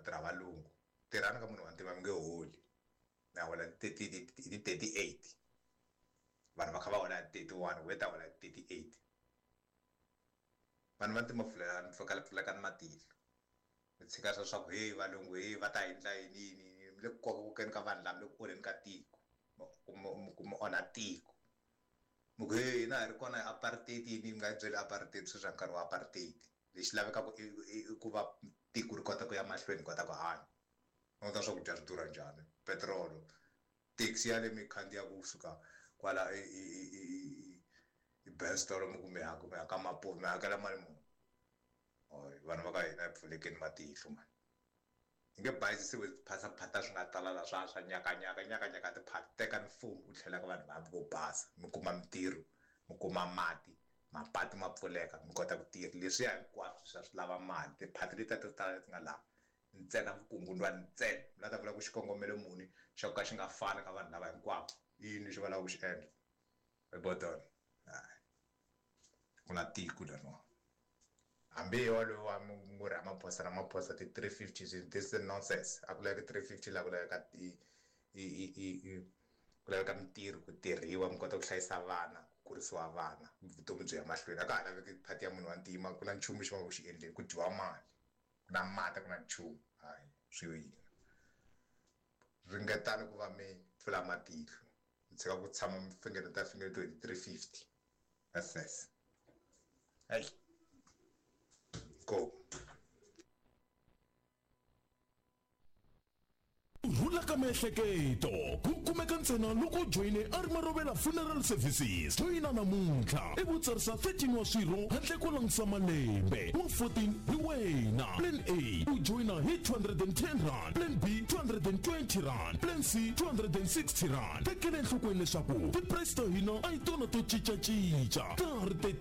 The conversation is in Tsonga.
tirha valungu. Tirhani ka munhu wa ntima mi nge holi. Mi ya hola hi ti 38. Vanhu va kha va hola hi 31, wena ta hola hi 38. Vanhu va ntima pfulekani pfulekani matihlo. Mi tshika swa swa ku heyi valungu heyi va ta endla yini yini yini mi le ku kokakokeni ka vanhu lava mi le ku onheni ka tiko ku mi onha tiko mi ku heyi hina hi ri kona hi apartheid yini mi nga yi byeli apartheid sweswi a nkarhi wa apartheid lexi lavekaka i ku va tiko ri kota ku ya mahlweni kota ku hanya languta swakudya swi durha njhani petirolo taxi ya le mi khandziyaka kusuka kwala i Benstolo mi ku mi ya mi ya ka Mapuve mi hakela mali muni vanhu va ka hina hi pfulekeni matihlo mani hi nge bayizisiwi tiphataphata swi nga tala la swa swa nyakanyaka nyakanyaka tiphata teka mfumo u tlhela ka vanhu va vo basa mi kuma mintirho mi kuma mati mapatu ma pfuleka mi kota ku tirha leswiya hinkwaswo swa swi lava mali tiphati letiya to tala leti nga laha ntsena vukungundwani ntsena mi la ta vula ku xikongomelo muni xa ku ka xi nga fani ka vanhu lava hinkwavo i yini lexi va lavaka ku xi endla hi hayi ku na tiko leriwani hambi hi walowo wa ngo Ramaphosa Ramaphosa ti 350 this is nonsense a ku laveki 350 la ku laveka i i i i ku laveka mintirho ku tirhiwa mi kota ku hlayisa vana ku kurisiwa vana vutomi byi ya mahlweni a ka ha laveki phati ya munhu wa ntima ku na nchumu xi va ku xi endleni ku dyiwa mali ku na mati ku na nchumu hayi swi yo yini ringetani ku va mi pfula matihlo mi tshika ku tshama mi fingereta fingeretiwe hi 350 ss hey go Rhula ka miehleketo ku kumeka ntsena loko u joyine a ri Marovela Funeral Services. Joyina namuntlha ivi u tsarisa 13 wa swirho handle ko langutisa malembe. Wa 14 hi wena. Plan A u joyina hi R210, Plan B R220, Plan C R260. Tekela enhlokweni leswaku ti-price ta hina a hi tona to cincacinca. Ta ha ri te.